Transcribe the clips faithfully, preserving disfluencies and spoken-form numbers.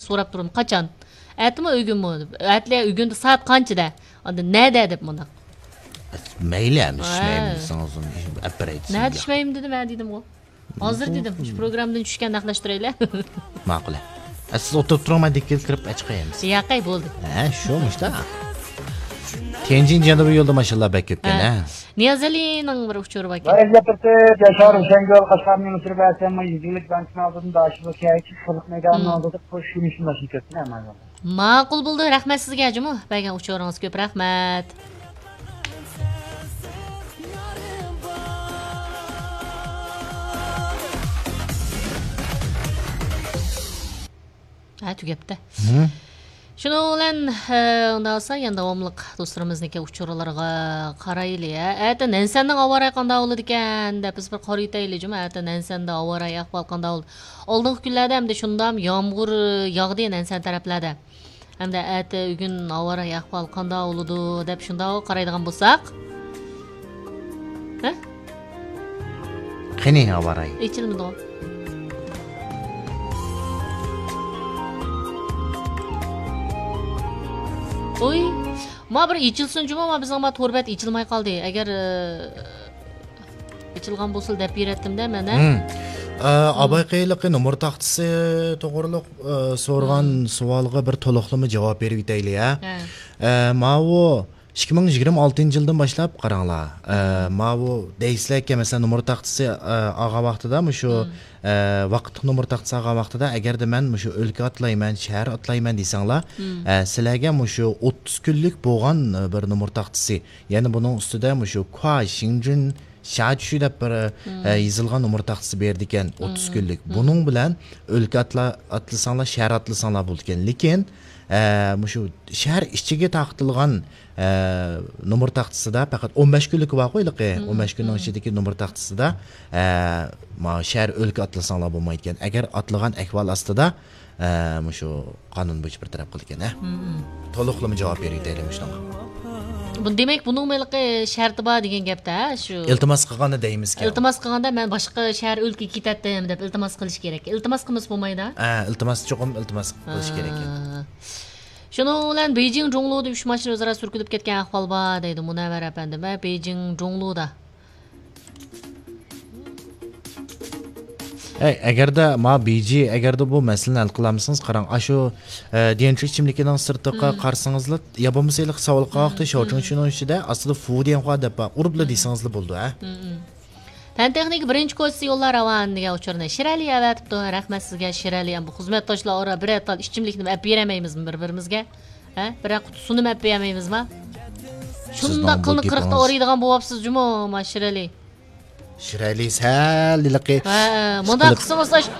سوراپ تۇرۇم، قاچان؟ ئەتىمۇ ئۆگۈنمۇ؟ ئەتىلە ئۆگۈندە سائەت قانچىدە؟ ئاندىن نەدە دەپ مۇنداق. مەيلى، ئەمدى ھە. چۈشمەيمەن دېسىڭىز، ئەپەرەي نەدە دېسىڭىز. چۈشمەيمەن دېدىم، ھە دېدىمغۇ. ھازىر دېدىم، شۇ پروگراممىدىن چۈشكەن نەقلەشتۈرەيلى. ماقۇل. ئە، سىز ئولتۇرۇپ تۇرۇڭ، مەن دېكىلىپ كىرىپ ئەچىقاي ئەمىسە. ياقەي، بولدى. ھە، شۇ مۇشتا. تيەنجىن جەنۇبىي يولدا ماشىنىلار بەك كۆپكەن، ھە. ھە. نىيازئەلىنىڭ بىر ئۇچۇرى باركەن. ۋەزىيەت تۈرتۈپ، ياشار ھۈسەنگۈل قەشقەرنىڭ مۇنىسىرى بەرسەم، يۈزلۈك بانكىنىڭ ئالدىدا، داشىلىق كەيچىك خەلق مەيدانىنىڭ مم. ئالدىدا قوش يۈرۈشنى باشلاپ كەتتىم، ھە، مانا. ماقۇل بولدى، رەھمەت سىزگە جۇمۇ، بەرگەن ئۇچۇرىڭىزغا كۆپ رەھمەت. ھە، تۈگەپتە. ھە. شۇنىڭ بىلەن، ئە، ئۇنداق بولسا، يەنە داۋاملىق دوستلىرىمىزنىڭكى ئۇچۇرلىرىغا قارايلى، ھە. ئەتە نەنسەندىڭ ھاۋا رايى قانداق بولىدىكەن دەپ بىز بىر قارىيتايلى جۇمۇ. ئەتە نەنسەندە ھاۋا رايى ئەھۋال قانداق بولىدۇ؟ ئالدىنقى كۈنلەردە ئەمدى شۇنداق يامغۇر ياغدى نەنسەن تەرەپلەردە. ھەمدە ئەتە ئۆگۈن ھاۋا رايى ئەھۋالى قانداق بولىدۇ دەپ شۇنداق قارايدىغان بولساق. ھە؟ قېنى ھاۋا رايى؟ ئېچىلمىدىغۇ. ئۇي، ما بىر ئېچىلسۇن جۇمۇ، ما بىزنىڭ ما تور بەت ئېچىلماي قالدى. ئەگەر، ئە، ئېچىلغان بولسا دەپ بېرەتتىم-دە مەن، ھە؟ ھىم. ئە، مم. ئاباي قېيىلىقى نومۇر تاختىسى توغرۇلۇق، ئە، سورىغان مم. سوئالغا بىر تولۇقلىما جاۋاب بېرىۋېتەيلى، ھە؟ ھە. ئە، ماۋۇ ئىككى مىڭ يىگىرمە ئالتىنچى يىلدىن باشلاپ قاراڭلار. ئە، مم. ماۋۇ دەيسىلەركەن، مەسىلەن، نومۇر تاختىسى، ئە، ئالغان ۋاقتىدا مۇشۇ، مم. ئە، ۋاقىتلىق نومۇر تاختىسى ئالغان ۋاقتىدا، ئەگەردە مەن مۇشۇ ئۆلكە ئاتلايمەن، شەھەر ئاتلايمەن دېسەڭلار، مم. ئە، سىلەرگە مۇشۇ ئوتتۇز كۈنلۈك بولغان، ئە، بىر نومۇر تاختىسى، يەنى بۇنىڭ ئۈستىدە مۇشۇ كۇا شىڭجۈن شاچۈ دەپ بىر، مم. ئە، يېزىلغان نومۇر تاختىسى بېرىدىكەن، ئوتتۇز مم. كۈنلۈك. مم. بۇنىڭ بىلەن ئۆلكە ئاتلا-، ئاتلىساڭلار، شەھەر ئاتلىساڭلار بولىدىكەن. لېكىن، ئە، مۇشۇ شەھەر ئىچىگە تارقىتىلغان، ئە، نومۇر تاختىسىدا پەقەت ئون بەش كۈنلۈكى بارغۇ ھېلىقى، مم. ئون بەش كۈننىڭ مم. ئىچىدىكى نومۇر تاختىسىدا، ئە، ما-، شەھەر، ئۆلكە ئاتلىساڭلار بولمايدىكەن. ئەگەر ئاتلىغان ئەھۋال ئاستىدا، ئە، مۇشۇ قانۇن بويىچە بىر تەرەپ قىلىدىكەن، ھە؟ مم. تولۇقلىما جاۋاب بېرىۋېتەيلى مۇشۇنىڭغا. بۇ، دېمەك، بۇنىڭمۇ ھېلىقى شەرتى بار دېگەن گەپتە، ھە، شۇ. ئىلتىماس قىلغاندا دەيمىزكەن. ئىلتىماس قىلغاندا، مەن باشقا شەھەر، ئۆلكىگە كېتەتتىم دەپ ئىلتىماس قىلىش كېرەك. ئىلتىماس قىلمىسا بولمايدۇ. ھە، ئىلتىماس، چوقۇم ئىلتىماس قىلىش كېرەك. ھە. شۇنىڭ بىلەن بېيجىڭ جۇڭلۇدا ئۈچ ماشىنا ئۆزئارا سۈركىلىپ كەتكەن ئەھۋال بار دەيدۇ مۇنەۋۋەر ئەپەندىم. ھە، بېيجىڭ جۇڭلۇدا. ئەي، ئەگەردە ما بىجى، ئەگەردە بۇ مەسىلىنى ھەل قىلالمىسىڭىز، قاراڭ، ئاشۇ، ئە، دىيەنچۈ ئىچىملىكىنىڭ سىرتىغا مم. قارىسىڭىزلا، يا بولمىسا ھېلىقى ساۋۇلقا ۋاقتى مم. شاۋچىڭچىنىڭ ئىچىدە ئاستىدا فۇ دىيەن خۇا دەپ بار، ئۇرۇپلا مم. دېسىڭىزلا بولىدۇ، ھە؟ مم. پەن تېخنىكا بىرىنچى كوچىسى يوللار راۋان دېگەن ئۇچۇرنى شىرئەلى ئەۋەتىپتۇ. رەھمەت سىزگە، شىرئەلى. ئەمدى خىزمەتداشلار ئارا بىرەر تال ئىچىملىكنى ئەپ بېرەلمەيمىزمۇ بىر-بىرىمىزگە؟ ھە؟ بىرەر قۇتا سۇنىمۇ ئەپ بېرەلمەيمىزما؟ شۇنداق سىزنىڭ بۇ قىلنى قىرىقتا گېپىڭىز ئارىيدىغان بولۇۋاپسىز جۇمۇ، ما شىرئەلى. شىرئەلى سەل ھېلىقى ھە، مۇنداق قىلسىڭىز، ئاش-،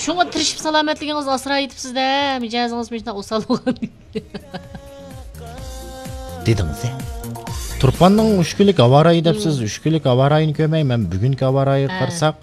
شۇڭا تىرىشىپ سالامەتلىكىڭىزنى ئاسرايتىپسىز-دە، مىجەزىڭىز مۇشۇنداق ئوسال بولغان. دېدىڭىز، ھە؟ تۇرپاننىڭ ئۈچ كۈنلۈك ھاۋا رايى دەپسىز، مم. ئۈچ كۈنلۈك ھاۋا رايىنى كۆرمەي، مەن بۈگۈنكى ھاۋا رايىغا ھە. قارىساق،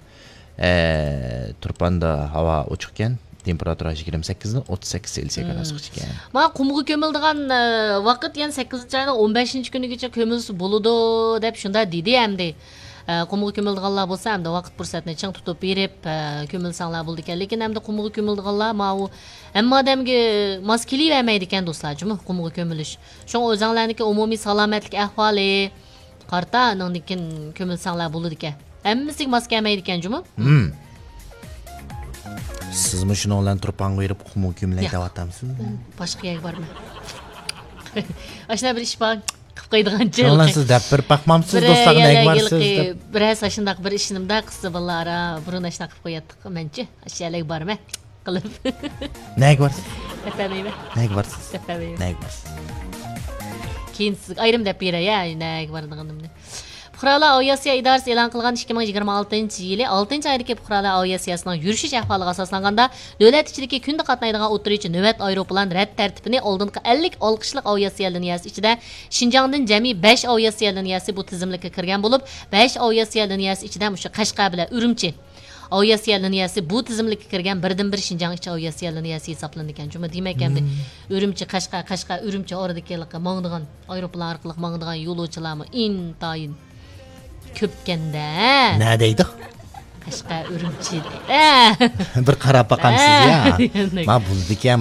ئە، تۇرپاندا ھاۋا ئوچۇقكەن، تېمپېراتۇرا يىگىرمە سەككىزدىن ئوتتۇز سەككىز سېلسىيە مم. گرادۇسقىچە ئىكەن. مانا قۇمغا كۆمۈلىدىغان، ئە، ۋاقىت يەنە سەككىزىنچى ئاينىڭ ئون بەشىنچى كۈنىگىچە كۆمۈلسە بولىدۇ، دەپ شۇنداق دېدى ئەمدى. ئە، قۇمغا كۆمۈلىدىغانلار بولسا، ئەمدى ۋاقىت پۇرسەتنى چىڭ تۇتۇپ بېرىپ، ئە، كۆمۈلسەڭلار بولىدىكەن. لېكىن ئەمدى قۇمغا كۆمۈلىدىغانلار ماۋۇ ھەممە ئادەمگە ماس كېلىۋەرمەيدىكەن، دوستلار، جۇمۇ، قۇمغا كۆمۈلۈش. شۇڭا ئۆزەڭلارنىڭكى ئومۇمىي سالامەتلىك ئەھۋالى قارىتا، ئاندىن كېيىن كۆمۈلسەڭلار بولىدىكەن. ھەممىسىگە ماس كەلمەيدىكەن، جۇمۇ. ھىم. سىزمۇ شۇنىڭ بىلەن تۇرپانغا بېرىپ قۇمغا كۆمۈلەي دەۋاتامسىز؟ باشقا يەرگە بارىمەن. ئاشۇنداق بىر ئىش بار. قىلىپ قويىدىغانچە شۇڭا ھېلىقى. سىز دەپ بېرىپ باقمامسىز، بىر دوستلارغا يەرلەرگە نەگە بارسىز ھېلىقى دەپ؟ بىر ھەسسە ئاشۇنداق بىر ئىشىنىمدا قىزى بالىلار ئارا بۇرۇن ئاشۇنداق قىلىپ قوياتتۇق مەنچە. ئاشۇ يەرلەرگە بارىمەن. قىلىپ. نەگە بارسىز؟ دەپ بەرمەيمەن. نەگە بارسىز؟ دەپ بەرمەيمەن. نەگە بارسىز؟ كېيىن سىزگە ئايرىم دەپ بېرەي، ھە، نەگە بارىدىغىنىمنى. پۇقرالار ئاۋىئاتسىيە ئىدارىسى ئېلان قىلغان ئىككى مىڭ يىگىرمە ئالتىنچى يىلى ئالتىنچى ئايدىكى پۇقرالار ئاۋىئاتسىيەسىنىڭ يۈرۈشۈش ئەھۋالىغا ئاساسلانغاندا، دۆلەت ئىچىدىكى كۈندە قاتنايدىغان ئوتتۇرىچە نۆۋەت ئايروپىلان رەت تەرتىپىنى ئالدىنقى ئەللىك ئالقىشلىق ئاۋىئاتسىيە لىنىيەسى ئىچىدە شىنجاڭدىن جەمئىي بەش ئاۋىئاتسىيە لىنىيەسى بۇ تىزىملىككە كىرگەن بولۇپ، بەش ئاۋىئاتسىيە لىنىيەسى ئىچىدە مۇشۇ قەشقەر بىلەن ئۈرۈمچى ئاۋىئاتسىيە لىنىيەسى بۇ تىزىملىككە كىرگەن بىردىنبىر شىنجاڭ ئىچى ئاۋىئاتسىيە لىنىيەسى ھېسابلىنىدىكەن. جۇمۇ، دېمەك، ئەمدى مم. ئۈرۈمچى، قەشقەر، قەشقەر، ئۈرۈمچى ئارىدىكى ھېلىقى ماڭىدىغان، ئايروپىلان ئارقىلىق ماڭىدىغان يولۇچىلارمۇ ئىنتايىن كۆپكەندە. نە دەيدۇ؟ قەشقەر، ئۈرۈمچى دەيدۇ. بىر قاراپ باقامسىز ھە. يا؟ ما بولىدىكەن.